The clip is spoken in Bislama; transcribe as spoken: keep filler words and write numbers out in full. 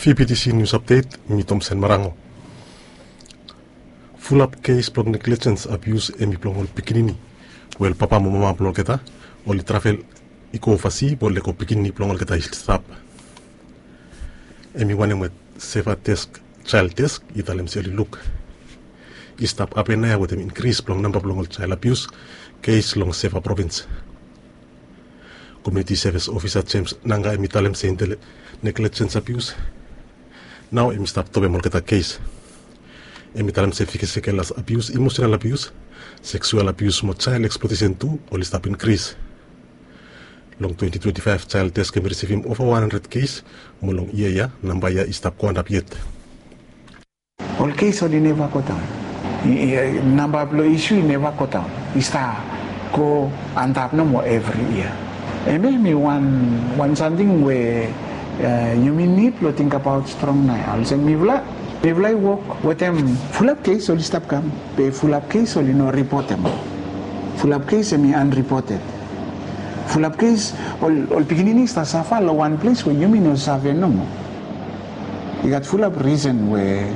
Vptc nius apdet, mi Tomsen Marango. Fulap kes blong neglijens abius hemi blong ol pikinini we ol papa mo mama blong olgeta oli travel i go ovasi blong lego pikinini blong olgeta i stap. Hemi wanem we Seva Desk, Jael Desk i talem se oli luk i stap hapen naoia wetem inkris blong namba blong ol jael abius kes long Seva provins. Komiuniti sevis ofisa Jems Nanga hemi talem se intel neglijens abius nao hemi stap topem olgeta kes. Hemi talem se fisikel abius, imosenal abius, seksual abius mo jael eksplotesen tu oli stap inkris. Long twenti twenti faef Jael Desk hemi risivim ova wan handred kes, mo long yia ya namba ya i stap go antap yet. Ol kes oli neva godaon. Namba blong isu i neva godaon, i stap go antap nomo evri yia. Hemia hemi wan wan samting we yumi nid blong tingbaot strong naoia olsem mifala mifala i wok wetem fulap kes oli stap kam, be fulap kes oli no ripotem. Fulap kes hemi anripoted. Fulap kes ol pikinini i stap safa long wan ples we yumi no save nomo. I gat fulap risen we